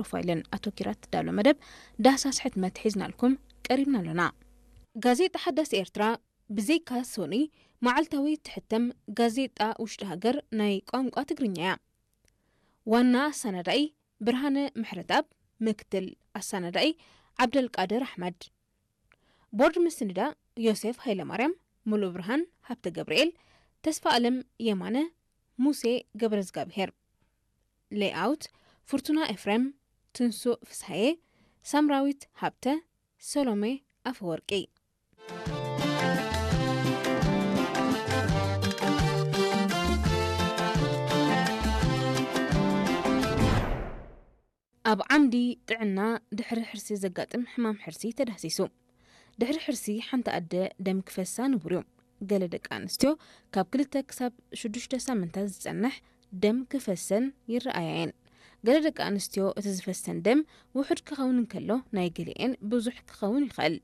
ፕሮፋይልን ኣተኪራ ትዳሎ መደብ ዳህሳስ ሕትመት ሒዝናልኩም ቀሪብና ኣሎና። ጋዜጣ ሓዳስ ኤርትራ ብዘይካ ሶኒ መዓልታዊ ትሕተም ጋዜጣ ውሽጢ ሃገር ናይ ቋንቋ ትግርኛ እያ። ዋና ኣሰናዳኢ ብርሃነ ምሕረትኣብ፣ ምክትል ኣሰናዳኢ ዓብደልቃድር ኣሕመድ። ቦርድ ምስንዳ ዮሴፍ ሃይለማርያም፣ ሙሉ ብርሃን ሃብተ ገብርኤል፣ ተስፋ ኣለም የማነ፣ ሙሴ ገብረዝጋብሄር። ሌይኣውት ፍርቱና ኤፍሬም፣ ትንሱእ ፍስሃየ፣ ሳምራዊት ሃብተ፣ ሰሎሜ ኣፈወርቂ። ኣብ ዓምዲ ጥዕና ድሕሪ ሕርሲ ዘጋጥም ሕማም ሕርሲ ተዳህሲሱ። ድሕሪ ሕርሲ ሓንቲ ኣደ ደም ክፈሳ ንቡር እዩ። ገለ ደቂ ኣንስትዮ ካብ ክልተ ክሳብ ሽዱሽተ ሳምንታት ዝጸንሕ ደም ክፈሰን ይረኣያ እየን። ገለ ደቂ ኣንስትዮ እቲ ዝፈሰን ደም ውሑድ ክኸውን እንከሎ፣ ናይ ገሊኤን ብዙሕ ክኸውን ይኽእል።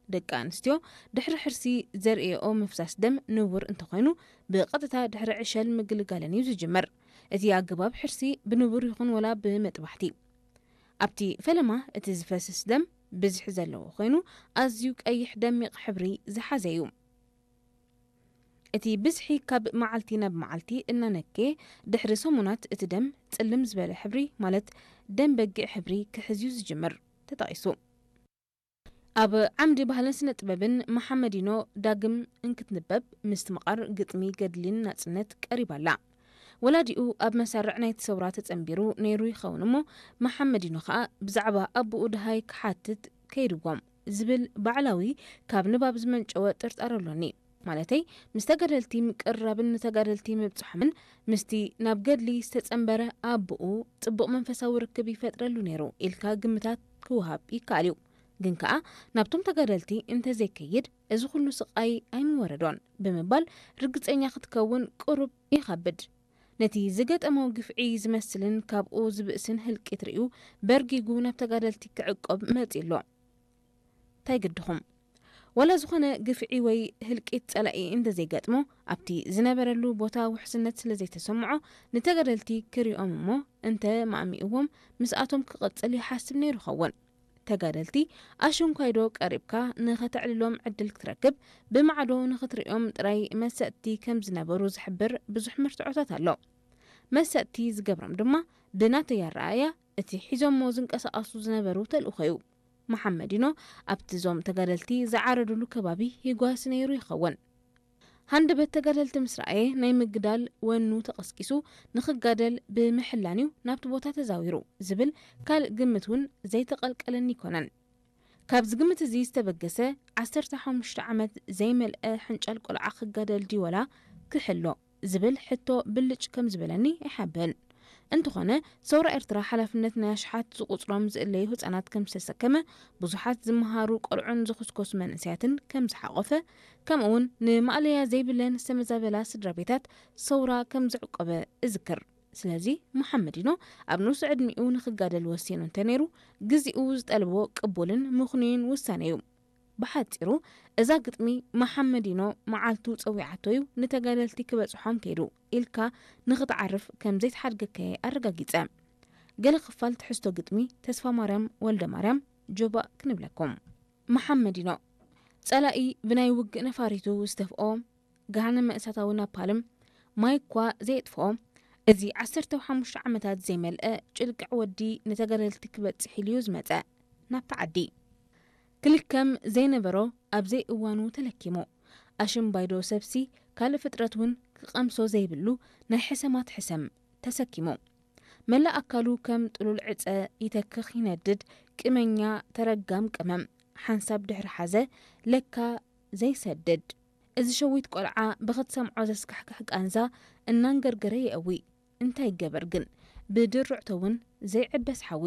ደቂ ኣንስትዮ ድሕሪ ሕርሲ ዘርእየኦ ምፍሳስ ደም ንቡር እንተኾይኑ፣ ብቐጥታ ድሕሪ ዕሸል ምግልጋለን እዩ ዝጅምር። እቲ ኣገባብ ሕርሲ ብንቡር ይኹን ወላ ብመጥባሕቲ። ኣብቲ ፈለማ እቲ ዝፈስስ ደም ብዝሒ ዘለዎ ኮይኑ፣ ኣዝዩ ቀይሕ ደሚቕ ሕብሪ ዝሓዘ እዩ። እቲ ብዝሒ ካብ መዓልቲ ናብ መዓልቲ እናነከየ፣ ድሕሪ ሰሙናት እቲ ደም ጽልም ዝበለ ሕብሪ፣ ማለት ደም በጊዕ ሕብሪ ክሕዝ እዩ ዝጅምር፣ ተጠቒሱ። ኣብ ዓምዲ ባህልን ስነ ጥበብን መሓመዲኖ ዳግም እንክትንበብ ምስትምቓር ግጥሚ ገድሊን ናጽነት ቀሪባ ኣላ። ወላዲኡ ኣብ መሳርዕ ናይቲ ሰውራ ተጸንቢሩ ነይሩ ይኸውን እሞ፣ መሓመዲኖ ኸኣ ብዛዕባ ኣቦኡ ደሃይ ክሓትት ከይድዎም ዝብል ባዕላዊ ካብ ንባብ ዝመንጨወ ጥርጣረ ኣሎኒ። ማለተይ፣ ምስ ተጋደልቲ ምቅርራብን ንተጋደልቲ ምብጽሖምን ምስቲ ናብ ገድሊ ዝተጸንበረ ኣቦኡ ጽቡቕ መንፈሳዊ ርክብ ይፈጥረሉ ነይሩ ኢልካ ግምታት ክወሃብ ይከኣል እዩ። ግን ከኣ ናብቶም ተጋደልቲ እንተዘይከይድ እዚ ኩሉ ስቓይ ኣይምወረዶን ብምባል ርግጸኛ ክትከውን ቅሩብ ይኸብድ። ነቲ ዝገጠሞ ግፍዒ ዝመስልን ካብኡ ዝብእስን ህልቂት ርእዩ በርጊጉ ናብ ተጋደልቲ ክዕቆብ መጺኡ ኣሎ። እንታይ ግድኹም? ወላ ዝኾነ ግፍዒ ወይ ህልቂት ጸላኢ እንተዘይገጥሞ፣ ኣብቲ ዝነበረሉ ቦታ ውሕስነት ስለ ዘይተሰምዖ፣ ንተጋደልቲ ክሪኦም እሞ እንተ ማእሚእዎም ምስኣቶም ክቕጽል ይሓስብ ነይሩ ኸውን። ተጋደልቲ ኣሽንኳይዶ ቀሪብካ ንኸተዕልሎም ዕድል ክትረክብ፣ ብማዕዶ ንኽትሪኦም ጥራይ መሰጥቲ ከም ዝነበሩ ዝሕብር ብዙሕ መርትዖታት ኣሎ። መሰጥቲ ዝገብሮም ድማ ብናተይ ኣረኣእያ እቲ ሒዞሞ ዝንቀሳቐሱ ዝነበሩ ተልእኾ እዩ። መሓመዲኖ ኣብቲ እዞም ተጋደልቲ ዝዓረዱሉ ከባቢ ይጓሲ ነይሩ ይኸውን። ሃንደበት ተጋደልቲ ምስ ረኣየ ናይ ምግዳል ወኑ ተቐስቂሱ ንኽጋደል ብምሕላን እዩ ናብቲ ቦታ ተዛዊሩ ዝብል ካልእ ግምት እውን ዘይተቐልቀለኒ ኣይኮነን። ካብዚ ግምት እዚ ዝተበገሰ ዓሰርተ ሓሙሽተ ዓመት ዘይመልአ ሕንጫል ቆልዓ ክጋደል ድዩ ወላ ክሕሎ ዝብል ሕቶ ብልጭ ከም ዝበለኒ ኣይሓብእን። እንተኾነ፣ ሰውራ ኤርትራ ሓላፍነት ናይ ኣሽሓት ዝቑጽሮም ዝእለዩ ህጻናት ከም ዝተሰከመ፣ ብዙሓት ዝመሃሩ ቆልዑን ዝኹስኮሱ መንእሰያትን ከም ዝሓቖፈ፣ ከምኡውን ንማእለያ ዘይብለን ዝተመዛበላ ስድራ ቤታት ሰውራ ከም ዘዕቆበ እዝክር። ስለዚ፣ መሓመዲኖ ኣብ ንኡስ ዕድሚኡ ንኽጋደል ወሲኑ እንተነይሩ፣ ግዜኡ ዝጠልቦ ቅቡልን ምኽኑይን ውሳነ እዩ። ብሓጺሩ፣ እዛ ግጥሚ መሓመዲኖ መዓልቱ ጸዊዓቶ እዩ ንተጋደልቲ ክበጽሖም ከይዱ ኢልካ ንኽትዓርፍ ከም ዘይተሓድገካ'የ ኣረጋጊጸ። ገለ ክፋል ትሕዝቶ ግጥሚ ተስፋማርያም ወልደማርያም ጆባእ ክንብለኩም። መሓመዲኖ፣ ጸላኢ ብናይ ውግእ ነፋሪቱ ዝተፍኦ ገሃነመ እሳታዊ ናፓልም ማይ እኳ ዘየጥፍኦ፣ እዚ ዓሰርተ ሓሙሽተ ዓመታት ዘይመልአ ጭልቅዕ ወዲ ንተጋደልቲ ክበጽሕ ኢሉ እዩ ዝመጸ ናብታ ዓዲ። ክልከም ዘይነበሮ ኣብ ዘይእዋኑ ተለኪሙ። ኣሽምባይዶ ሰብሲ ካልእ ፍጥረት እውን ክቐምሶ ዘይብሉ ናይ ሕሰማት ሕሰም ተሰኪሙ። መላእ ኣካሉ ከም ጥሉል ዕጸ ይተክኽ ይነድድ፣ ቅመኛ ተረጋም ቅመም ሓንሳብ ድሕሪ ሓዘ፣ ለካ ዘይሰድድ። እዚ ሸዊት ቆልዓ ብኽትሰምዖ ዘስካሕክሕ ቃንዛ እናንገርገረ የእዊ። እንታይ ይገበር ግን፣ ብድርዕቶ እውን ዘይዕበስ ሓዊ።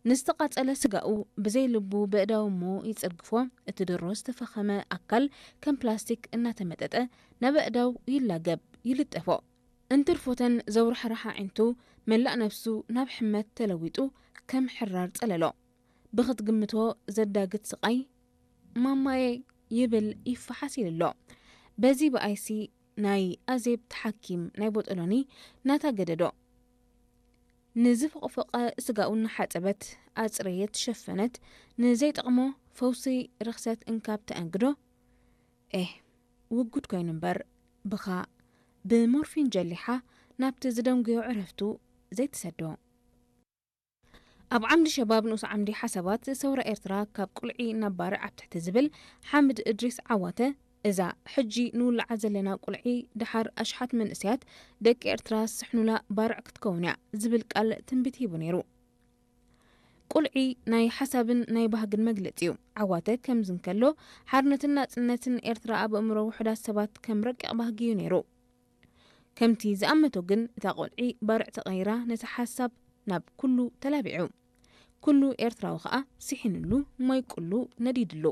ንዝተቓጸለ ስጋኡ ብዘይ ልቡ በእዳው እሞ ይጽርግፎ፣ እቲ ድሮ ዝተፈኸመ ኣካል ከም ፕላስቲክ እናተመጠጠ ናብ ኣእዳው ይላገብ፣ ይልጠፎ። እንትርፎተን ዘውራሕራሕ ኣዒንቱ መላእ ነፍሱ ናብ ሕመት ተለዊጡ ከም ሕራር ጸለሎ። ብኽትግምቶ ዘዳግት ስቓይ፣ ማማየ ይብል ይፈሓስ ኢሉ ኣሎ። በዚ ብኣይሲ ናይ ኣዜብ ተሓኪም ናይ ቦጦሎኒ ናታ ገደዶ። ንዝፈቕፈቐ ስጋኡ እናሓጸበት ኣጽረየት ሸፈነት፣ ንዘይጠቕሞ ፈውሲ ርኽሰት እንካብ ተኣንግዶ። ኤህ፣ ውጉድ ኮይኑ እምበር፣ ብኻ ብሞርፊን ጀሊሓ ናብቲ ዝደንጉዮ ዕረፍቱ ዘይትሰዶ። ኣብ ዓምዲ ሸባብ ንኡስ ዓምዲ ሓሳባት ሰውራ ኤርትራ ካብ ቁልዒ ናብ ባርዕ ኣብ ትሕቲ ዝብል ሓምድ እድሪስ ዓዋተ፣ እዛ ሕጂ ንውልዓ ዘለና ቁልዒ ደሓር ኣሽሓት መንእሰያት ደቂ ኤርትራ ዝስሕኑላ ባርዕ ክትከውን እያ ዝብል ቃል ትንቢት ሂቡ ነይሩ። ቁልዒ ናይ ሓሳብን ናይ ባህግን መግለጺ እዩ። ዓዋተ ከምዚ እንከሎ፣ ሓርነትን ናጽነትን ኤርትራ ኣብ ኣእምሮ ውሑዳት ሰባት ከም ረቂቕ ባህጊ እዩ ነይሩ። ከምቲ ዝኣመቶ ግን፣ እታ ቁልዒ ባርዕ ተቐይራ ነቲ ሓሳብ ናብ ኩሉ ተላቢዑ። ኩሉ ኤርትራዊ ኸኣ ስሒንሉ፣ ሞይቁሉ፣ ነዲድሉ።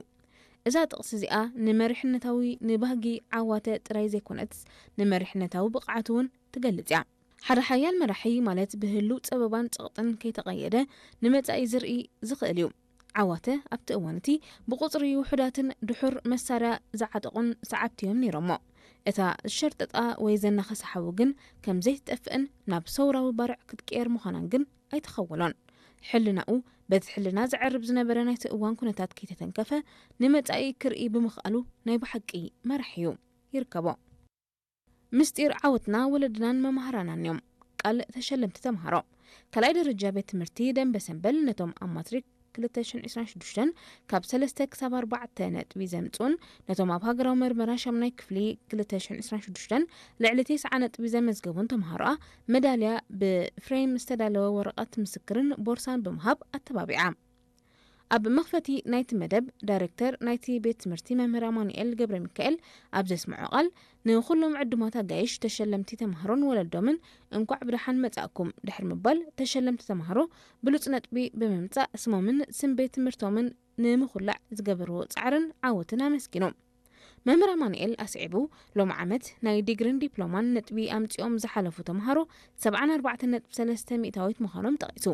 እዛ ጥቕሲ እዚኣ ንመሪሕነታዊ ንባህጊ ዓዋተ ጥራይ ዘይኮነትስ፣ ንመሪሕነታዊ ብቕዓቱ እውን ትገልጽ እያ። ሓደ ሓያል መራሒ ማለት ብህሉው ጸበባን ጸቕጥን ከይተቐየደ ንመጻኢ ዝርኢ ዝኽእል እዩ። ዓዋተ ኣብቲ እዋን እቲ ብቑጽሪ ውሑዳትን ድሑር መሳርያ ዝዓጠቑን ሰዓብቲ እዮም ነይሮሞ። እታ ዝሸርጠጣ ወይ ዘናኸሳ ሓዊ ግን ከም ዘይትጠፍእን ናብ ሰውራዊ ባርዕ ክትቅየር ምዃናን ግን ኣይተኸወሎን። ሕልናኡ በቲ ሕልና ዝዕርብ ዝነበረ ናይቲ እዋን ኩነታት ከይተተንከፈ ንመጻኢ ክርኢ ብምኽኣሉ ናይ ብሓቂ መራሒ እዩ። ይርከቦ። ምስጢር ዓወትና ወለድናን መማህራናን እዮም። ቃል ተሸለምቲ ተምሃሮ። ካልኣይ ደረጃ ቤት ትምህርቲ ደንበ ሰንበል ነቶም ኣብ ማትሪክ ክልተ ሽሕን ዕስራን ሽዱሽተን ካብ ሰለስተ ክሳብ ኣርባዕተ ነጥቢ ዘምጽኡን ነቶም ኣብ ሃገራዊ መርመራ ሻምናይ ክፍሊ ክልተ ሽሕን ዕስራን ሽዱሽተን ልዕሊ ተስዓ ነጥቢ ዘመዝገቡን ተምሃሮኣ መዳልያ ብፍሬም ዝተዳለወ ወረቐት ምስክርን ቦርሳን ብምሃብ ኣተባቢዓ። ኣብ መኽፈቲ ናይቲ መደብ፣ ዳይሬክተር ናይቲ ቤት ትምህርቲ መምህር ኣማኑኤል ገብረ ሚካኤል ኣብ ዘስምዖ ቃል፣ ንኹሎም ዕዱማት ኣጋይሽ፣ ተሸለምቲ ተምሃሮን ወለዶምን እንኳዕ ብደሓን መጻእኩም ድሕሪ ምባል፣ ተሸለምቲ ተምሃሮ ብሉጽ ነጥቢ ብምምጻእ ስሞምን ስም ቤት ትምህርቶምን ንምኹላዕ ዝገበርዎ ጻዕርን ዓወትን ኣመስጊኑ። መምህር ኣማኑኤል ኣስዒቡ፣ ሎሚ ዓመት ናይ ዲግሪን ዲፕሎማን ነጥቢ ኣምጺኦም ዝሓለፉ ተምሃሮ ሰብዓን ኣርባዕተን ነጥቢ ሰለስተ ሚእታዊት ምዃኖም ጠቒሱ።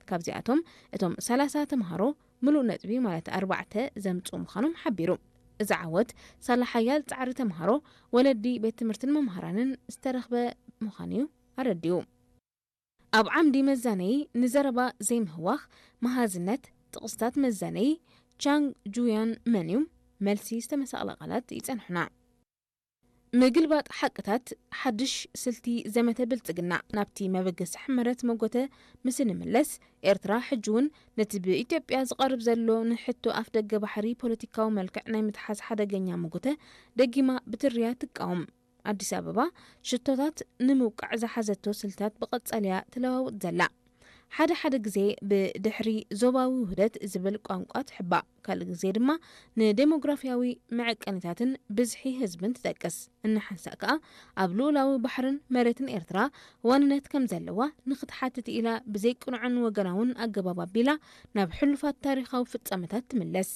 ካብዚኣቶም እቶም ሰላሳ ተምሃሮ ምሉእ ነጥቢ ማለት ኣርባዕተ ዘምጽኡ ምዃኖም ሓቢሩ። እዚ ዓወት ሳላ ሓያል ጻዕሪ ተምሃሮ፣ ወለዲ፣ ቤት ትምህርትን መምሃራንን ዝተረኽበ ምዃኑ እዩ ኣረዲኡ። ኣብ ዓምዲ መዛነዪ ንዘረባ ዘይምህዋኽ፣ መሃዝነት፣ ጥቕስታት መዛነዪ ቻንግ ጁያን መን እዩ? መልሲ ዝተመሳቕለ ቃላት ይጸንሑና። ምግልባጥ ሓቅታት፣ ሓድሽ ስልቲ ዘመተ ብልጽግና። ናብቲ መበገሲ ሕመረት መጎተ ምስ እንምለስ፣ ኤርትራ ሕጂ እውን ነቲ ብኢትዮጵያ ዝቐርብ ዘሎ ንሕቶ ኣፍደገ ባሕሪ ፖለቲካዊ መልክዕ ናይ ምትሓዝ ሓደገኛ መጎተ ደጊማ ብትርያ ትቃወም። ኣዲስ ኣበባ ሽቶታት ንምውቃዕ ዝሓዘቶ ስልታት ብቐጻሊ እያ ትለዋውጥ ዘላ። ሓደ ሓደ ግዜ ብድሕሪ ዞባዊ ውህደት ዝብል ቋንቋ ትሕባእ፣ ካልእ ግዜ ድማ ንዴሞግራፊያዊ መዐቀኒታትን ብዝሒ ህዝብን ትጠቅስ። እናሓንሳእ ከኣ ኣብ ልኡላዊ ባሕርን መሬትን ኤርትራ ዋንነት ከም ዘለዋ ንኽትሓትት ኢላ ብዘይቅኑዕን ወገናውን ኣገባብ ኣቢላ ናብ ሕሉፋት ታሪኻዊ ፍጻመታት ትምለስ።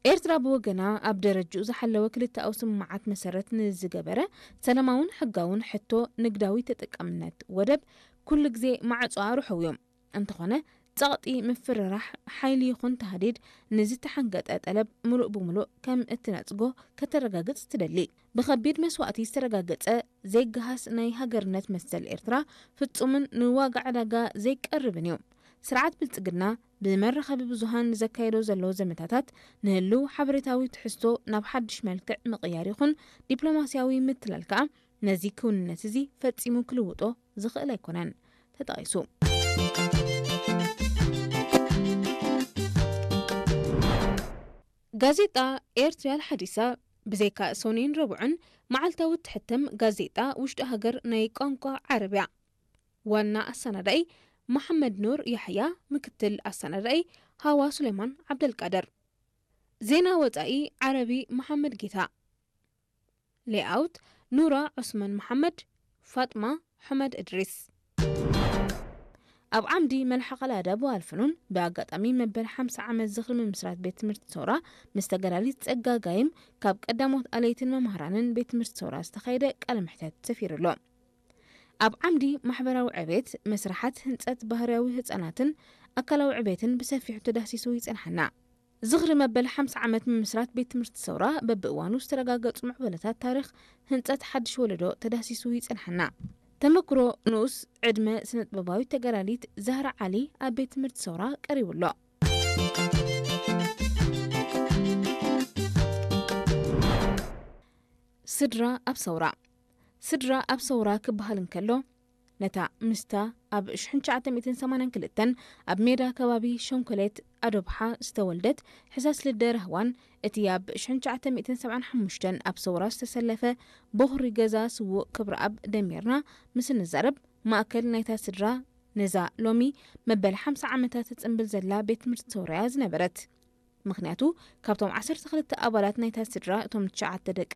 ኤርትራ ብወገና ኣብ ደረጅኡ ዝሓለወ ክልተኣዊ ስምምዓት መሰረት ንዝገበረ ሰላማውን ሕጋውን ሕቶ ንግዳዊ ተጠቃምነት ወደብ ኩሉ ግዜ ማዕጾኣ ርሑው እዩ። እንተኾነ ጸቕጢ፣ ምፍርራሕ፣ ሓይሊ ይኹን ታህዲድ ንዝተሓንገጠ ጠለብ ምሉእ ብምሉእ ከም እትነጽጎ ከተረጋግጽ ትደሊ። ብኸቢድ መስዋእቲ ዝተረጋገጸ ዘይገሃስ ናይ ሃገርነት መሰል ኤርትራ ፍጹምን ንዋጋ ዕዳጋ ዘይቀርብን እዩ። ስርዓት ብልጽግና ብመራኸቢ ብዙሃን ንዘካየዶ ዘሎ ዘመታታት ንህልው ሓበሬታዊ ትሕዝቶ ናብ ሓድሽ መልክዕ ምቕያር ይኹን ዲፕሎማስያዊ ምትላል ከኣ ነዚ ክውንነት እዚ ፈጺሙ ክልውጦ ዝኽእል ኣይኮነን። ተጠቒሱ። ጋዜጣ ኤርትርያ ኣልሓዲሳ ብዘይካ ሰኑይን ረቡዕን መዓልታዊ እትሕተም ጋዜጣ ውሽጢ ሃገር ናይ ቋንቋ ዓረብ እያ። ዋና ኣሰናዳኢ መሓመድ ኑር ያሕያ፣ ምክትል ኣሰናዳኢ ሃዋ ሱሌማን ዓብደልቃድር። ዜና ወጻኢ ዓረቢ መሓመድ ጌታ። ሌኣውት ኑራ ዑስማን መሓመድ፣ ፋጥማ ሑመድ እድሪስ። ኣብ ዓምዲ መልሓቕ ኣልኣዳብ ወኣልፍኑን ብኣጋጣሚ መበል ሓምሳ ዓመት ዝኽሪ ምምስራት ቤት ትምህርቲ ሰውራ ምስ ተጋዳሊት ጸጋ ጋይም ካብ ቀዳሞት ኣለይትን መማህራንን ቤት ትምህርቲ ሰውራ ዝተኻየደ ቃለ መሕተት ሰፊሩ ኣሎ። ኣብ ዓምዲ ማሕበራዊ ዕቤት፣ መስርሓት ህንጸት ባህርያዊ ህጻናትን ኣካላዊ ዕቤትን ብሰፊሑ ተዳህሲሱ ይጸንሓና። ዝኽሪ መበል ሓምሳ ዓመት ምምስራት ቤት ትምህርቲ ሰውራ በብእዋኑ ዝተረጋገጹ ምዕበለታት ታሪኽ ህንጸት ሓድሽ ወለዶ ተዳህሲሱ ይጸንሓና። ተመክሮ ንኡስ ዕድመ ስነጥበባዊት ተጋዳሊት ዛህራ ዓሊ ኣብ ቤት ትምህርቲ ሰውራ ቀሪቡ ኣሎ። ስድራ ኣብ ሰውራ። ስድራ ኣብ ሰውራ ክበሃል እንከሎ፣ ነታ ምስታ ኣብ ሽሕን ትሽዓተ ሚእትን ሰማንያን ክልተን ኣብ ሜዳ ከባቢ ሸንኮሌት ኣዶብሓ ዝተወልደት ሕሳስ ልደ ራህዋን፣ እቲ ኣብ ሽሕን ትሽዓተ ሚእትን ሰብዓን ሓሙሽተን ኣብ ሰውራ ዝተሰለፈ ቦኽሪ ገዛ ስዉእ ክብረኣብ ደሚርና ምስ እንዛረብ፣ ማእከል ናይታ ስድራ ነዛ ሎሚ መበል ሓምሳ ዓመታት ትጽንብል ዘላ ቤት ትምህርቲ ሰውራ እያ ዝነበረት። ምኽንያቱ፣ ካብቶም ዓሰርተ ክልተ ኣባላት ናይታ ስድራ፣ እቶም ትሽዓተ ደቃ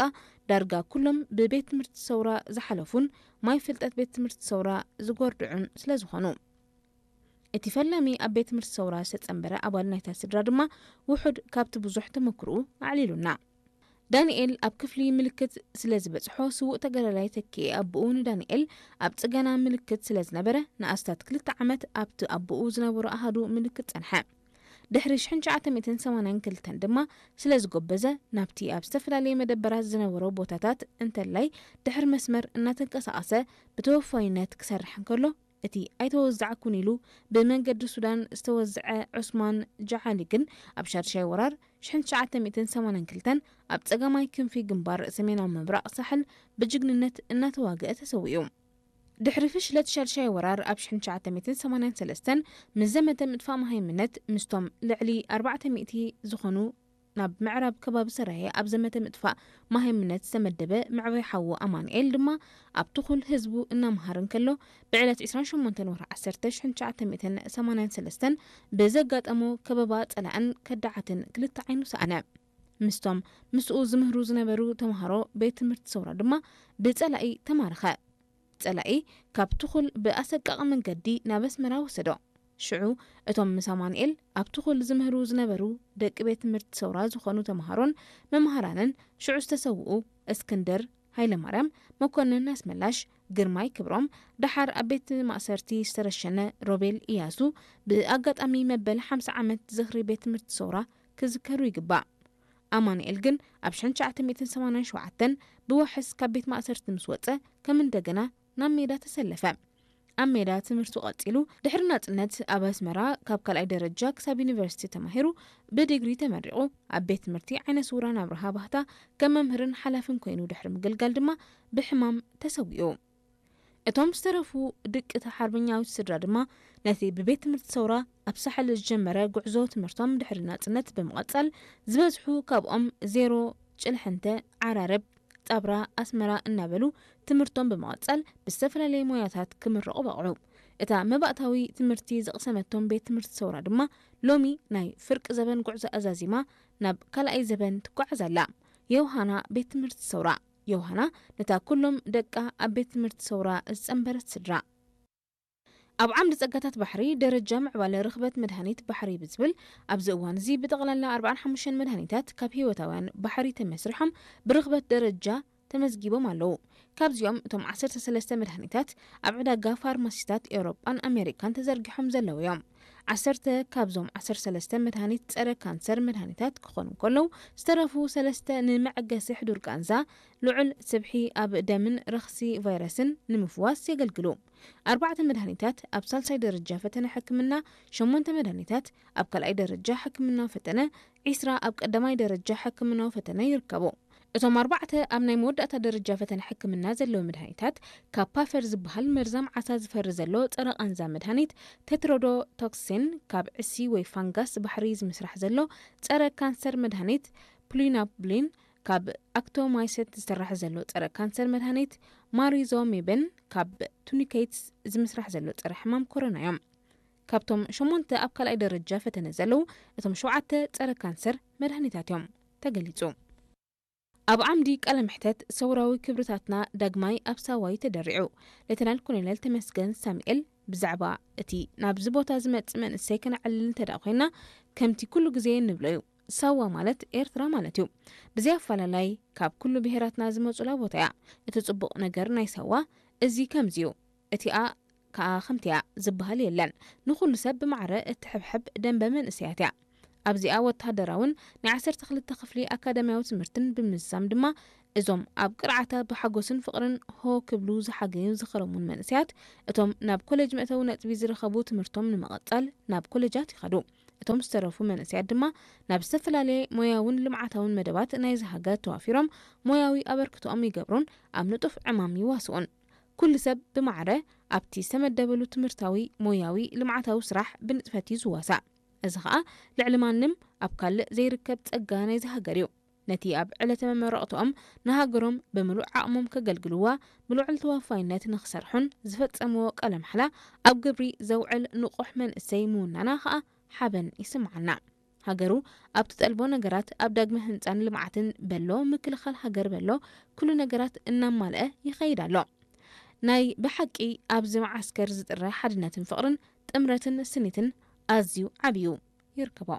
ዳርጋ ኩሎም ብቤት ትምህርቲ ሰውራ ዝሓለፉን ማይ ፍልጠት ቤት ትምህርቲ ሰውራ ዝጎርድዑን ስለ ዝኾኑ። እቲ ፈላሚ ኣብ ቤት ትምህርቲ ሰውራ ዝተጸንበረ ኣባል ናይታ ስድራ ድማ ውሑድ ካብቲ ብዙሕ ተመክሮኡ ኣዕሊሉና። ዳንኤል ኣብ ክፍሊ ምልክት ስለ ዝበጽሖ፣ ስዉእ ተጋዳላይ ተኪኤ ኣቦኡ ንዳንኤል ኣብ ጽገና ምልክት ስለ ዝነበረ፣ ንኣስታት ክልተ ዓመት ኣብቲ ኣቦኡ ዝነበሮ ኣሃዱ ምልክት ጸንሐ። ድሕሪ ሽሕን ትሽዓተ ሚእትን ሰማንያን ክልተን ድማ ስለ ዝጎበዘ፣ ናብቲ ኣብ ዝተፈላለየ መደበራት ዝነበሮ ቦታታት እንተላይ ድሕሪ መስመር እናተንቀሳቐሰ ብተወፋይነት ክሰርሕ እንከሎ፣ እቲ ኣይተወዛዕኩን ኢሉ ብመንገዲ ሱዳን ዝተወዝዐ ዑስማን ጃዓሊ ግን፣ ኣብ ሻድሻይ ወራር ሽሕን ትሽዓተ ሚእትን ሰማንያን ክልተን ኣብ ጸጋማይ ክንፊ ግንባር ሰሜናዊ ምብራቕ ሳሕል ብጅግንነት እናተዋግአ ተሰዊኡ። ድሕሪ ፍሽለት ሻድሻይ ወራር ኣብ ሽሕን ትሽዓተ ሚእትን ሰማንያን ሰለስተን ምስ ዘመተ ምጥፋእ መሃይምነት፣ ምስቶም ልዕሊ ኣርባዕተ ሚእቲ ዝኾኑ ናብ ምዕራብ ከባቢ ሰራየ ኣብ ዘመተ ምጥፋእ መሃይምነት ዝተመደበ መዕበይ ሓዉ ኣማኑኤል ድማ፣ ኣብ ትኹል ህዝቡ እናምሃረ እንከሎ፣ ብዕለት ዕስራን ሸሞንተን ወርሒ ዓሰርተ ሽሕን ትሽዓተ ሚእትን ሰማንያን ሰለስተን ብዘጋጠሞ ከበባ ጸላእን ከዳዓትን ክልተ ዓይኑ ሰኣነ። ምስቶም ምስኡ ዝምህሩ ዝነበሩ ተምሃሮ ቤት ትምህርቲ ሰውራ ድማ ብጸላኢ ተማረኸ። ጸላኢ ካብ ትኹል ብኣሰቃቒ መንገዲ ናብ ኣስመራ ወሰዶ። ሽዑ እቶም ምስ ኣማኑኤል ኣብ ትኹል ዝምህሩ ዝነበሩ ደቂ ቤት ትምህርቲ ሰውራ ዝኾኑ ተምሃሮን መምሃራንን፣ ሽዑ ዝተሰውኡ እስክንድር ሃይለማርያም፣ መኮንን ኣስመላሽ፣ ግርማይ ክብሮም፣ ደሓር ኣብ ቤት ማእሰርቲ ዝተረሸነ ሮቤል ኢያሱ፣ ብኣጋጣሚ መበል ሓምሳ ዓመት ዝኽሪ ቤት ትምህርቲ ሰውራ ክዝከሩ ይግባእ። ኣማኑኤል ግን ኣብ ሽሕን ትሽዓተ ሚእትን ሰማንያን ሸውዓተን ብዋሕስ ካብ ቤት ማእሰርቲ ምስ ወጸ፣ ከም እንደገና ናብ ሜዳ ተሰለፈ። ኣብ ሜዳ ትምህርቱ ቀጺሉ፣ ድሕሪ ናጽነት ኣብ ኣስመራ ካብ ካልኣይ ደረጃ ክሳብ ዩኒቨርሲቲ ተማሂሩ፣ ብዲግሪ ተመሪቑ፣ ኣብ ቤት ትምህርቲ ዓይነ ስውራን ኣብርሃ ባህታ ከም መምህርን ሓላፍን ኮይኑ ድሕሪ ምግልጋል ድማ ብሕማም ተሰዊኡ። እቶም ዝተረፉ ድቂ እታ ሓርበኛዊት ስድራ ድማ ነቲ ብቤት ትምህርቲ ሰውራ ኣብ ሳሕል ዝጀመረ ጉዕዞ ትምህርቶም ድሕሪ ናጽነት ብምቕጻል፣ ዝበዝሑ ካብኦም ዜሮ፣ ጭልሕንተ፣ ዓራርብ፣ ጻብራ፣ ኣስመራ እናበሉ ትምህርቶም ብምቕጻል ብዝተፈላለየ ሞያታት ክምረቑ በቕዑ። እታ መባእታዊ ትምህርቲ ዝቕሰመቶም ቤት ትምህርቲ ሰውራ ድማ ሎሚ ናይ ፍርቂ ዘበን ጉዕዞ ኣዛዚማ ናብ ካልኣይ ዘበን ትጓዓዝ ኣላ። ዮሃና ቤት ትምህርቲ ሰውራ። ዮሃና ነታ ኩሎም ደቃ ኣብ ቤት ትምህርቲ ሰውራ ዝጸንበረት ስድራ። ኣብ ዓምዲ ጸጋታት ባሕሪ ደረጃ ምዕባለ ርኽበት መድሃኒት ባሕሪ ብዝብል፣ ኣብዚ እዋን እዚ ብጠቕላላ ኣርባዓን ሓሙሽተን መድሃኒታት ካብ ህይወታውያን ባሕሪ ተመስሪሖም ብርኽበት ደረጃ ተመዝጊቦም ኣለዉ። ካብዚኦም እቶም ዓሰርተ ሰለስተ መድሃኒታት ኣብ ዕዳጋ ፋርማሲታት ኤውሮጳን ኣሜሪካን ተዘርጊሖም ዘለዉ እዮም። ዓሰርተ ካብዞም ዓሰርተ ሰለስተ መድሃኒት ጸረ ካንሰር መድሃኒታት ክኾኑ እንከለዉ፣ ዝተረፉ ሰለስተ ንመዐገሲ ሕዱር ቃንዛ፣ ልዑል ስብሒ ኣብ ደምን ረኽሲ ቫይረስን ንምፍዋስ የገልግሉ። ኣርባዕተ መድሃኒታት ኣብ ሳልሳይ ደረጃ ፈተነ ሕክምና፣ ሸሞንተ መድሃኒታት ኣብ ካልኣይ ደረጃ ሕክምናዊ ፈተነ፣ ዒስራ ኣብ ቀዳማይ ደረጃ ሕክምናዊ ፈተነ ይርከቡ። እቶም ኣርባዕተ ኣብ ናይ መወዳእታ ደረጃ ፈተነ ሕክምና ዘለዉ መድሃኒታት፣ ካፓፈር ዝበሃል መርዛም ዓሳ ዝፈሪ ዘሎ ጸረ ቃንዛ መድሃኒት፣ ቴትሮዶቶክሲን ካብ ዕሲ ወይ ፋንጋስ ባሕሪ ዝምስራሕ ዘሎ ጸረ ካንሰር መድሃኒት፣ ፕሉናቡሊን ካብ ኣክቶማይሰት ዝስራሕ ዘሎ ጸረ ካንሰር መድሃኒት፣ ማሪዞሜብን ካብ ቱኒኬትስ ዝምስራሕ ዘሎ ጸረ ሕማም ኮሮና እዮም። ካብቶም ሸሞንተ ኣብ ካልኣይ ደረጃ ፈተነ ዘለዉ፣ እቶም ሸውዓተ ጸረ ካንሰር መድሃኒታት እዮም ተገሊጹ። ኣብ ዓምዲ ቃለ መሕተት ሰውራዊ ክብርታትና ዳግማይ ኣብ ሳዋ እዩ ተደሪዑ። ሌተናል ኮሎኔል ተመስገን ሳሙኤል ብዛዕባ እቲ ናብዚ ቦታ ዝመጽእ መንእሰይ ከነዕልል እንተ ደኣ ኮይና፣ ከምቲ ኩሉ ግዜ እንብሎ እዩ፣ ሳዋ ማለት ኤርትራ ማለት እዩ። ብዘይ ኣፈላላይ ካብ ኩሉ ብሄራትና ዝመጹላ ቦታ እያ። እቲ ጽቡቕ ነገር ናይ ሳዋ እዚ ከምዚ እዩ፣ እቲኣ ከኣ ከምቲኣ ዝበሃል የለን። ንኹሉ ሰብ ብማዕረ እትሕብሕብ ደንበ መንእሰያት እያ። ኣብዚኣ ወተሃደራውን ናይ ዓሰርተ ክልተ ክፍሊ ኣካዳሚያዊ ትምህርትን ብምዝዛም ድማ፣ እዞም ኣብ ቅርዓታ ብሓጎስን ፍቕርን ሆ ክብሉ ዝሓገዩ ዝኸረሙን መንእሰያት፣ እቶም ናብ ኮሌጅ መእተዊ ነጥቢ ዝረኸቡ ትምህርቶም ንምቕጻል ናብ ኮሌጃት ይኸዱ። እቶም ዝተረፉ መንእሰያት ድማ ናብ ዝተፈላለየ ሞያውን ልምዓታውን መደባት ናይዚ ሃገር ተዋፊሮም ሞያዊ ኣበርክቶኦም ይገብሩን ኣብ ንጡፍ ዕማም ይዋስኡን። ኩሉ ሰብ ብማዕረ ኣብቲ ዝተመደበሉ ትምህርታዊ፣ ሞያዊ፣ ልምዓታዊ ስራሕ ብንጥፈት እዩ ዝዋሳእ። እዚ ኸኣ ልዕሊ ማንም ኣብ ካልእ ዘይርከብ ጸጋ ናይዚ ሃገር እዩ። ነቲ ኣብ ዕለተ መመረቕትኦም ንሃገሮም ብምሉእ ዓቕሞም ከገልግልዋ ብልዑል ተዋፋይነት ንኽሰርሑን ዝፈጸምዎ ቃለ ማሕላ ኣብ ግብሪ ዘውዕል ንቑሕ መንእሰይ ምውናና ኸኣ ሓበን ይስምዓና። ሃገሩ ኣብ ትጠልቦ ነገራት፣ ኣብ ዳግመ ህንጻን ልምዓትን በሎ፣ ምክልኻል ሃገር በሎ፣ ኩሉ ነገራት እናማልአ ይኸይድ ኣሎ። ናይ ብሓቂ ኣብዚ መዓስከር ዝጥረ ሓድነትን ፍቕርን ጥምረትን ስኒትን ኣዝዩ ዓብዩ ይርከቦ።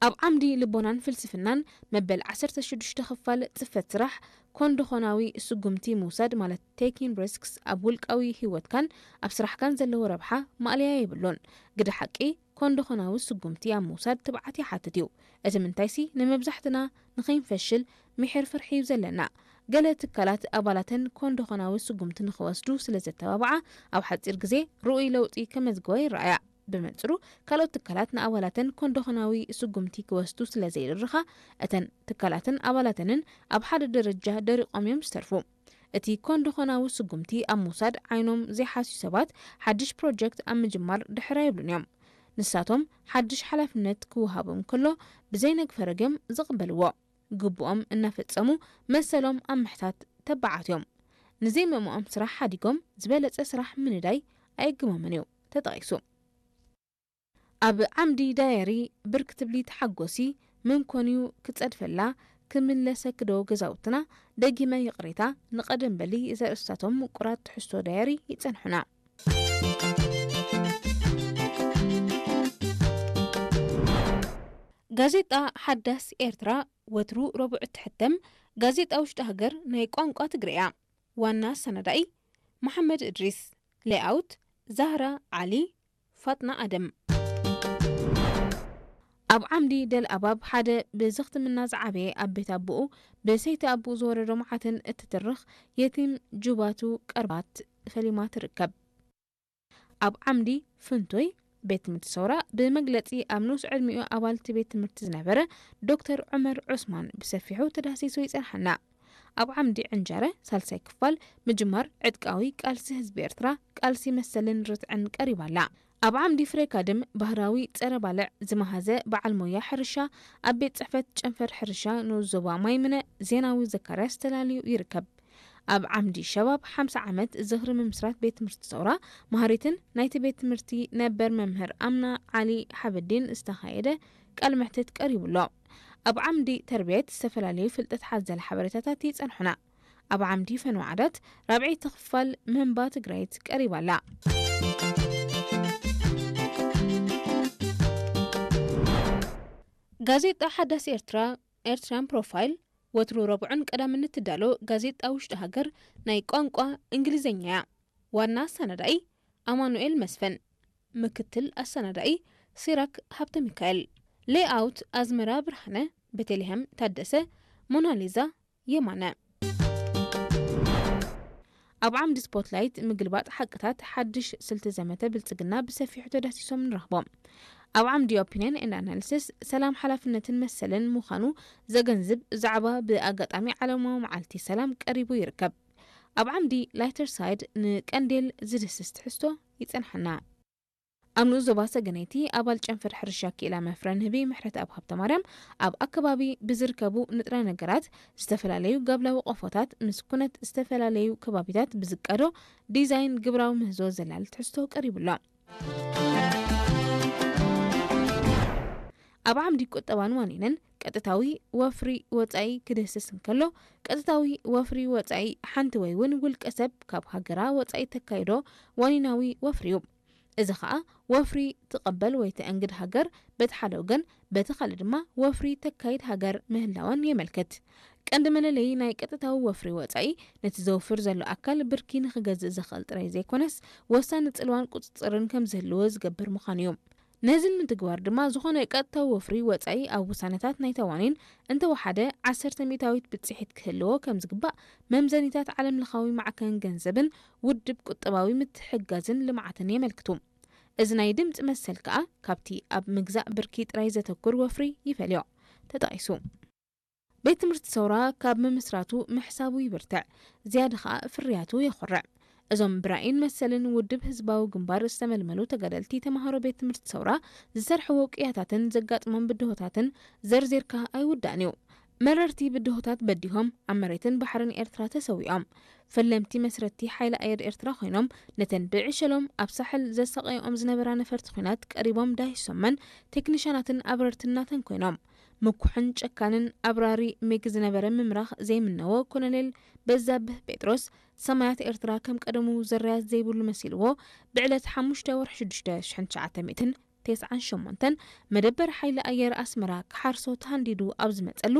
ኣብ ዓምዲ ልቦናን ፍልስፍናን መበል ዓሰርተ ሽዱሽተ ክፋል ጽፈት ስራሕ ኮንዶኾናዊ ስጉምቲ ምውሳድ ማለት taking risks ኣብ ውልቃዊ ህይወትካን ኣብ ስራሕካን ዘለዎ ረብሓ ማእለያ የብሉን። ግደ ሓቂ ኮንዶኾናዊ ስጉምቲ ኣብ ምውሳድ ትብዓት ይሓትት እዩ። እቲ ምንታይሲ ንመብዛሕትና ንኸይንፈሽል ምሒር ፍርሒ እዩ ዘለና። ገለ ትካላት ኣባላተን ኮንዶኾናዊ ስጉምቲ ንኽወስዱ ስለ ዘተባብዓ ኣብ ሓጺር ግዜ ርኡይ ለውጢ ከመዝግባ ይረኣያ። ብመንጽሩ ካልኦት ትካላት ንኣባላተን ኮንዶኾናዊ ስጉምቲ ክወስዱ ስለ ዘይድርኻ እተን ትካላትን ኣባላተንን ኣብ ሓደ ደረጃ ደሪቖም እዮም ዝተርፉ። እቲ ኮንዶኾናዊ ስጉምቲ ኣብ ምውሳድ ዓይኖም ዘይሓስዩ ሰባት ሓድሽ ፕሮጀክት ኣብ ምጅማር ድሕር ኣይብሉን እዮም። ንሳቶም ሓድሽ ሓላፍነት ክወሃቦም ከሎ ብዘይነግፈረግ እዮም ዝቕበልዎ። ግቡኦም እናፈጸሙ መሰሎም ኣብ ምሕታት ተባዓት እዮም። ንዘይምእምኦም ስራሕ ሓዲጎም ዝበለጸ ስራሕ ምንዳይ ኣየግሞምን እዩ ተጠቒሱ። ኣብ ዓምዲ ዳየሪ ብርክ ትብሊ ተሓጎሲ፣ መን ኮንዩ ክጸድፈላ፣ ክምለሰኪ ዶ ገዛውትና፣ ደጊመ ይቕሬታ፣ ንቐደም በሊ ዘርእስታቶም ምቁራት ትሕዝቶ ዳየሪ ይጸንሑና። ጋዜጣ ሓዳስ ኤርትራ ወትሩ ረቡዕ እትሕተም ጋዜጣ ውሽጢ ሃገር ናይ ቋንቋ ትግርያ። ዋና ኣሰናዳኢ መሓመድ እድሪስ። ሌኣውት ዛህራ ዓሊ፣ ፋጥና ኣደም። ኣብ ዓምዲ ደል ኣባብ ሓደ ብዘኽትምና ዝዓበየ ኣብ ቤት ኣቦኡ ብሰይቲ ኣቦኡ ዝወረዶ መዓትን እትትርኽ የቲም ጁባቱ ቀርባት ፈሊማ ትርከብ። ኣብ ዓምዲ ፍንቶይ ቤት ትምህርቲ ሰውራ ብመግለጺ ኣብ ንኡስ ዕድሚኡ ኣባል እቲ ቤት ትምህርቲ ዝነበረ ዶክተር ዑመር ዑስማን ብሰፊሑ ተዳህሲሱ ይጸንሓና። ኣብ ዓምዲ ዕንጃረ ሳልሳይ ክፋል ምጅማር ዕጥቃዊ ቃልሲ ህዝቢ ኤርትራ ቃልሲ መሰልን ርትዕን ቀሪባ ኣላ። ኣብ ዓምዲ ፍሬ ካድም ባህራዊ ጸረ ባልዕ ዝመሃዘ በዓል ሞያ ሕርሻ ኣብ ቤት ጽሕፈት ጨንፈር ሕርሻ ንኡስ ዞባ ማይምነ ዜናዊ ዘካርያስ ተላልዩ ይርከብ። ኣብ ዓምዲ ሸባብ ሓምሳ ዓመት ዝኽሪ ምምስራት ቤት ትምህርቲ ሰውራ መሃሪትን ናይቲ ቤት ትምህርቲ ነበር መምህር ኣምና ዓሊ ሓበዲን ዝተኻየደ ቃል መሕትት ቀሪቡ ኣሎ። ኣብ ዓምዲ ተርቢየት ዝተፈላለዩ ፍልጠት ሓዘል ሓበሬታታት ይጸንሑና። ኣብ ዓምዲ ፈነወ ዓዳት ራብዐይቲ ክፋል መንባ ትግራይት ቀሪባ ኣላ። ጋዜጣ ሓዳስ ኤርትራ ኤርትራን ፕሮፋይል ወትሩ ረቡዕን ቀዳምን እትዳሎ ጋዜጣ ውሽጢ ሃገር ናይ ቋንቋ እንግሊዝኛ እያ። ዋና ኣሰናዳኢ ኣማኑኤል መስፍን፣ ምክትል ኣሰናዳኢ ሲራክ ሃብተ ሚካኤል፣ ሌኣውት ኣዝመራ ብርሃነ፣ ቤተልሔም ታደሰ፣ ሞናሊዛ የማነ። ኣብ ዓምዲ ስፖትላይት ምግልባጥ ሓቅታት ሓድሽ ስልቲ ዘመተ ብልጽግና ብሰፊሑ ተዳሲሶም ንረኽቦም። ኣብ ዓምዲ ኦፒንየን ኤንድ ኣናሊሲስ ሰላም ሓላፍነትን መሰልን ምዃኑ ዘገንዝብ ዛዕባ ብኣጋጣሚ ዓለማዊ መዓልቲ ሰላም ቀሪቡ ይርከብ። ኣብ ዓምዲ ላይተር ሳይድ ንቀንዴል ዝድስስ ትሕዝቶ ይጸንሓና። ኣብ ንኡስ ዞባ ሰገነይቲ ኣባል ጨንፈር ሕርሻ ክኢላ መፍረ ንህቢ ምሕረተኣብ ሃብተማርያም ኣብ ኣከባቢ ብዝርከቡ ንጥረ ነገራት ዝተፈላለዩ ጋብላዊ ቆፎታት ምስ ኩነት ዝተፈላለዩ ከባቢታት ብዝቃዶ ዲዛይን ግብራዊ ምህዞ ዘላሊ ትሕዝቶ ቀሪቡ ኣሎ። ኣብ ዓምዲ ቁጠባን ዋኒንን ቀጥታዊ ወፍሪ ወጻኢ ክድህስስ እንከሎ፣ ቀጥታዊ ወፍሪ ወጻኢ ሓንቲ ወይ እውን ውልቀ ሰብ ካብ ሃገራ ወጻኢ ተካይዶ ዋኒናዊ ወፍሪ እዩ። እዚ ኸኣ ወፍሪ ትቐበል ወይ ተእንግድ ሃገር በቲ ሓደ ወገን፣ በቲ ካልእ ድማ ወፍሪ ተካይድ ሃገር ምህላወን የመልክት። ቀንዲ መለለዪ ናይ ቀጥታዊ ወፍሪ ወጻኢ ነቲ ዘውፍር ዘሎ ኣካል ብርኪ ንኽገዝእ ዘኽእል ጥራይ ዘይኮነስ፣ ወሳኒ ጽልዋን ቁጽጽርን ከም ዝህልዎ ዝገብር ምዃኑ እዩ። ነዚ ንምትግባር ድማ ዝኾነ ቀጥታዊ ወፍሪ ወጻኢ ኣብ ውሳነታት ናይታ ዋኒን እንተወሓደ ዓሰርተ ሚእታዊት ብጽሒት ክህልዎ ከም ዝግባእ መምዘኒታት ዓለምለኻዊ ማዕከን ገንዘብን ውድብ ቁጠባዊ ምትሕግጋዝን ልምዓትን የመልክቱ። እዚ ናይ ድምጺ መሰል ከኣ ካብቲ ኣብ ምግዛእ ብርኪ ጥራይ ዘተኩር ወፍሪ ይፈልዮ። ተጠቒሱ። ቤት ትምህርቲ ሰውራ ካብ ምምስራቱ ምሕሳቡ ይብርትዕ፣ ዝያዳ ኸኣ ፍርያቱ የኹርዕ። እዞም ብራእይን መሰልን ውድብ ህዝባዊ ግንባር ዝተመልመሉ ተጋደልቲ ተምሃሮ ቤት ትምህርቲ ሰውራ ዝሰርሕዎ ቅያታትን ዘጋጥሞም ብድሆታትን ዘርዚርካ ኣይውዳእን እዩ። መረርቲ ብድሆታት በዲሆም ኣብ መሬትን ባሕርን ኤርትራ ተሰዊኦም። ፈለምቲ መስረቲ ሓይሊ ኣየር ኤርትራ ኮይኖም ነተን ብዕሸሎም ኣብ ሳሕል ዘሳቐይኦም ዝነበራ ነፈርቲ ኲናት ቀሪቦም ዳሂሶመን ቴክኒሻናትን ኣብረርትን ናተን ኮይኖም። ምኩሕን ጨካንን ኣብራሪ ሚግ ዝነበረ ምምራኽ ዘይምነዎ ኮሎኔል በዛብህ ጴጥሮስ ሰማያት ኤርትራ ከም ቀደሙ ዘረያት ዘይብሉ መሲልዎ ብዕለት ሓሙሽተ ወርሒ ሽዱሽተ ሽሕን ትሽዓተ ሚእትን ተስዓን ሸሞንተን መደበር ሓይሊ ኣየር ኣስመራ ክሓርሶ ተሃንዲዱ ኣብ ዝመጸሉ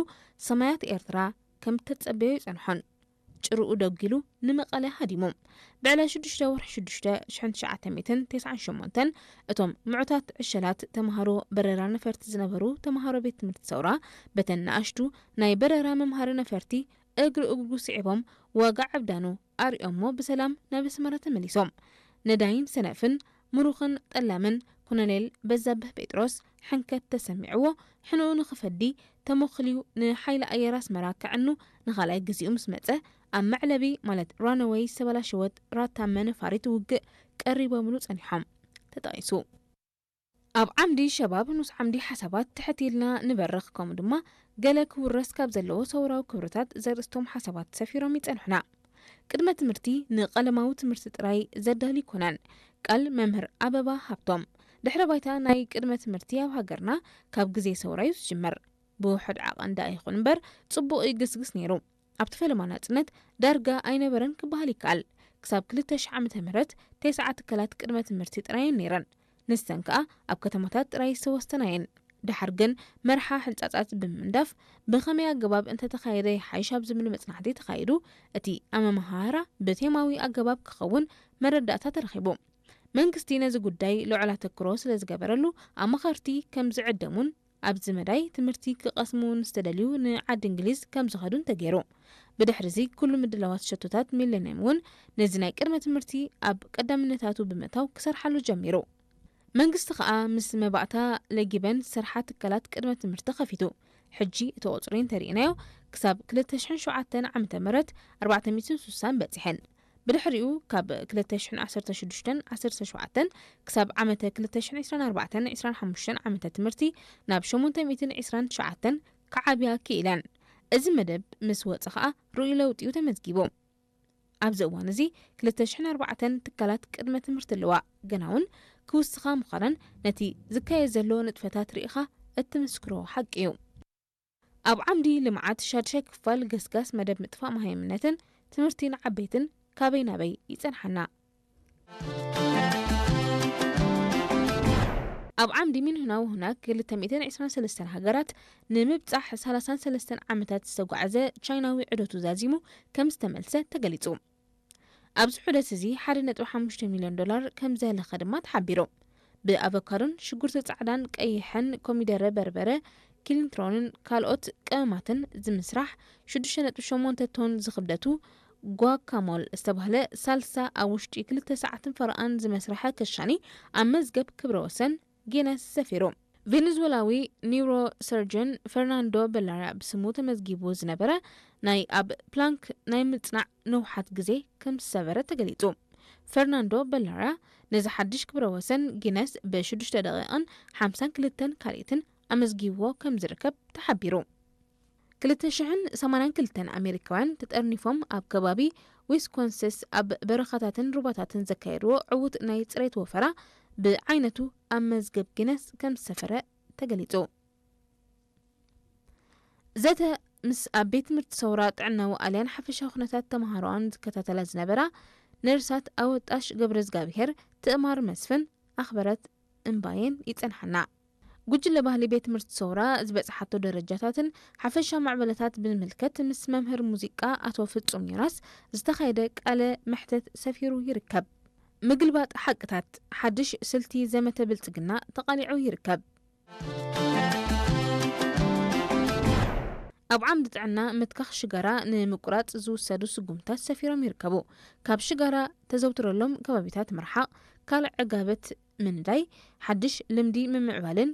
ሰማያት ኤርትራ ከም ተጸበዮ ይጸንሖን ጭርኡ ደጒሉ ንመቐለ ሃዲሙ። ብዕለት ሽዱሽተ ወርሒ ሽዱሽተ ሽሕን ትሽዓተ ሚእትን ተስዓን ሸሞንተን እቶም ምዑታት ዕሸላት ተምሃሮ በረራ ነፈርቲ ዝነበሩ ተምሃሮ ቤት ትምህርቲ ሰውራ በተን ንኣሽቱ ናይ በረራ መምሃሪ ነፈርቲ እግሪ እግሩ ስዒቦም ዋጋ ዕብዳኑ ኣርእዮሞ ብሰላም ናብ ኣስመራ ተመሊሶም። ነዳይን ሰነፍን ምሩኽን ጠላምን ኮሎኔል በዛብህ ጴጥሮስ ሕንከት ተሰሚዕዎ ሕንኡ ንኽፈዲ ተመኽልዩ ንሓይሊ ኣየር ኣስመራ ከዕኑ ንኻልኣይ ግዜኡ ምስ መጸ ኣብ መዕለቢ ማለት ራንወይ ዝተበላሸወት ራታመ ነፋሪት ውግእ ቀሪቦምሉ ጸኒሖም ተጠቒሱ። ኣብ ዓምዲ ሸባብ ንኡስ ዓምዲ ሓሳባት ትሕት ኢልና ንበርኽ ከምኡ ድማ ገለ ክውረስ ካብ ዘለዎ ሰውራዊ ክብርታት ዘርእስቶም ሓሳባት ሰፊሮም ይጸንሑና። ቅድመ ትምህርቲ ንቐለማዊ ትምህርቲ ጥራይ ዘዳሊ ኣይኮነን። ቃል መምህር ኣበባ ሃብቶም። ድሕረ ባይታ ናይ ቅድመ ትምህርቲ ኣብ ሃገርና ካብ ግዜ ሰውራ እዩ ዝጅምር። ብውሑድ ዓቐን ደኣ ይኹን እምበር ጽቡቕ ይግስግስ ነይሩ። ኣብቲ ፈለማ ናጽነት ዳርጋ ኣይነበረን ክበሃል ይከኣል። ክሳብ ክልተ ሽሕ ዓመተ ምህረት ተስዓ ትካላት ቅድመ ትምህርቲ ጥራይ እየን ነይረን። ንሰን ከኣ ኣብ ከተማታት ጥራይ ዝተወሰና እየን። ደሓር ግን መርሓ ሕንጻጻት ብምንዳፍ ብኸመይ ኣገባብ እንተተኻየደ ይሓይሽ ኣብ ዝብል መጽናዕቲ ተኻይዱ እቲ ኣመመሃህራ ብቴማዊ ኣገባብ ክኸውን መረዳእታ ተረኺቡ። መንግስቲ ነዚ ጉዳይ ልዑል ኣተክሮ ስለ ዝገበረሉ ኣማኸርቲ ከም ዝዕደሙን ኣብዚ መዳይ ትምህርቲ ክቐስሙ ንዝተደልዩ ንዓዲ እንግሊዝ ከም ዝኸዱን ተገይሩ። ብድሕሪ እዚ ኩሉ ምድላዋት ሸቶታት ሚለንየም እውን ነዚ ናይ ቅድመ ትምህርቲ ኣብ ቀዳምነታቱ ብምእታው ክሰርሓሉ ጀሚሩ። መንግስቲ ከኣ ምስ መባእታ ለጊበን ዝሰርሓ ትካላት ቅድመ ትምህርቲ ከፊቱ። ሕጂ እቲ ቁጽሪ እንተሪእናዮ ክሳብ ክልተ ሽሕን ሸውዓተን ዓመተ ምህረት ኣርባዕተ ሚእትን ስሳን በጺሐን። ብድሕሪኡ ካብ ክልተ ሽሕን ዓሰርተ ሽዱሽተን ዓሰርተ ሸውዓተን ክሳብ ዓመተ ክልተ ሽሕን ዕስራን ኣርባዕተን ዕስራን ሓሙሽተን ዓመተ ትምህርቲ ናብ ሸሞንተ ሚእትን ዕስራን ትሽዓተን ክዓብያ ክኢለን። እዚ መደብ ምስ ወጸ ከኣ ርኡይ ለውጢ እዩ ተመዝጊቡ። ኣብዚ እዋን እዚ ክልተ ሽሕን ኣርባዕተን ትካላት ቅድመ ትምህርቲ ኣለዋ። ገና እውን ክውስኻ ምዃነን ነቲ ዝካየድ ዘሎ ንጥፈታት ርኢኻ እትምስክሮ ሓቂ እዩ። ኣብ ዓምዲ ልምዓት ሻድሻይ ክፋል ገስጋስ መደብ ምጥፋእ መሃይምነትን ትምህርቲ ንዓበይትን ካበይ ናበይ ይጸንሓና። ኣብ ዓምዲ ሚንሁና ውሁና ክልተ ሚእትን ዕስራን ሰለስተን ሃገራት ንምብጻሕ ሰላሳን ሰለስተን ዓመታት ዝተጓዕዘ ቻይናዊ ዑደቱ ዛዚሙ ከም ዝተመልሰ ተገሊጹ። ኣብዚ ዑደት እዚ ሓደ ነጥቢ ሓሙሽተ ሚልዮን ዶላር ከም ዘህለኸ ድማ ተሓቢሩ። ብኣቮካዶን ሽጉርቲ ጻዕዳን ቀይሕን ኮሚደረ በርበረ ኪሊንትሮንን ካልኦት ቀመማትን ዝምስራሕ ሽዱሽተ ነጥቢ ሸሞንተ ቶን ዝኽብደቱ ጓካሞል ዝተባህለ ሳልሳ ኣብ ውሽጢ ክልተ ሰዓትን ፈረቓን ዝመስርሐ ከሻኒ ኣብ መዝገብ ክብረ ወሰን ጊነስ ሰፊሩ። ቬኔዙዌላዊ ኒውሮ ሰርጀን ፈርናንዶ በላራ ብስሙ ተመዝጊቡ ዝነበረ ናይ ኣብ ፕላንክ ናይ ምጽናዕ ነውሓት ግዜ ከም ዝሰበረ ተገሊጹ። ፈርናንዶ በላራ ነዚ ሓድሽ ክብረ ወሰን ጊነስ ብሽዱሽተ ደቂቕን ሓምሳን ክልተን ካልኢትን ኣመዝጊብዎ ከም ዝርከብ ተሓቢሩ። ክልተ ሽሕን ሰማንያን ክልተን ኣሜሪካውያን ተጠርኒፎም ኣብ ከባቢ ዊስኮንሲስ ኣብ በረኻታትን ሩባታትን ዘካየድዎ ዕዉት ናይ ጽሬት ወፈራ ብዓይነቱ ኣብ መዝገብ ጊነስ ከም ዝሰፈረ ተገሊጹ። ዘተ ምስ ኣብ ቤት ትምህርቲ ሰውራ ጥዕናዊ ኣልያን ሓፈሻዊ ኩነታት ተምሃሮኣን ዝከታተላ ዝነበራ ነርሳት ኣወጣሽ ገብረ እግዚኣብሄር ትእማር መስፍን ኣኽበረት እምባየን ይጸንሓና። ጉጅለ ባህሊ ቤት ትምህርቲ ሰውራ ዝበጽሓቶ ደረጃታትን ሓፈሻ ማዕበለታት ብምምልከት ምስ መምህር ሙዚቃ ኣቶ ፍጹም ዮናስ ዝተኻየደ ቃለ መሕተት ሰፊሩ ይርከብ። ምግልባጥ ሓቅታት፣ ሓድሽ ስልቲ ዘመተ ብልጽግና ተቓሊዑ ይርከብ። ኣብ ዓምዲ ጥዕና ምትካኽ ሽጋራ ንምቁራጽ ዝውሰዱ ስጉምታት ሰፊሮም ይርከቡ። ካብ ሽጋራ ተዘውትረሎም ከባቢታት ምርሓቕ፣ ካልዕ ዕጋበት ምንዳይ፣ ሓድሽ ልምዲ ምምዕባልን